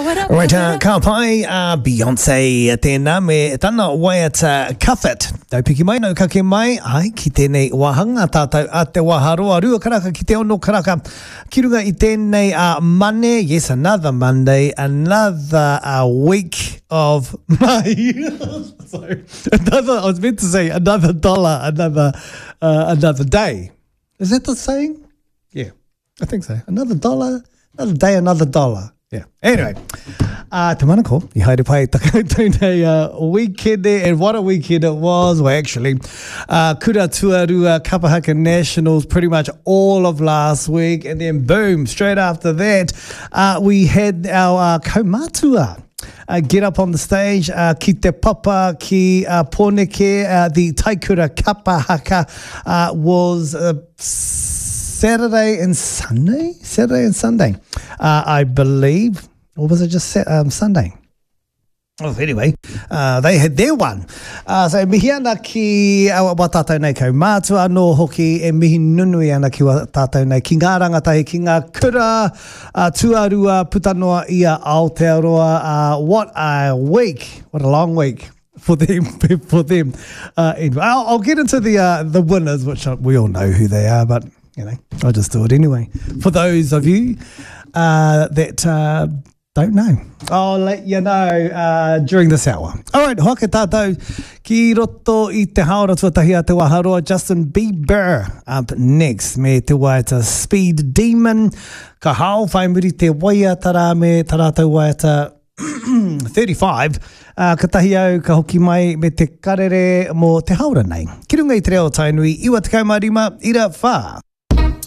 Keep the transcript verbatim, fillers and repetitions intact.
What up? Right, uh, ka pai, uh, Beyonce tēnā me tana waiata Cuff It. Nau piki mai, nau kake mai, ai, ki tēnei wāhanga tātou a te waharoa, rua karaka ki te ono karaka. Ki runga i tēnei uh, Mane, yes, another Monday, another uh, week of May. Sorry, another, I was meant to say another dollar, another, uh, another day. Is that the saying? Yeah, I think so. Another dollar, another day, another dollar. Yeah. Anyway, uh, te manako, i haere pai ta koutou nei uh, weekend and what a weekend it was. Well, actually, uh, Kura Tuarua Kapahaka Nationals pretty much all of last week, and then boom, straight after that, uh, we had our uh, kaumatua. Uh, get up on the stage, uh, ki te papa, ki uh, Pōneke, uh, the Taikura Kapahaka uh, was uh, Saturday and Sunday? Saturday and Sunday, uh, I believe. Or was it just um, Sunday? Oh, anyway, uh, they had their one. Uh, so mihi ana ki uh, wa tātou nei kaumātua anō hoki e mihi nunui ana ki wa tātou nei ki ngā rangatahi, ki ngā kura uh, tuarua puta noa i a Aotearoa. Uh, what a week, what a long week for them. For them. Uh, anyway, I'll, I'll get into the, uh, the winners, which we all know who they are, but you know, I'll just do it anyway. For those of you uh, that uh, don't know, I'll let you know uh, during this hour. All right, hoake tātou ki roto i te haora tuatahi a te waharoa, Justin Bieber up next me te waiata Speed Demon. Ka hao whai muri te waiata rā me tā rātou waiata thirty-five, uh, ka tahi au ka hoki mai me te karere mō te haora nei. Ki runga i te reo Tainui, iwa tekau mā rima, ira whā.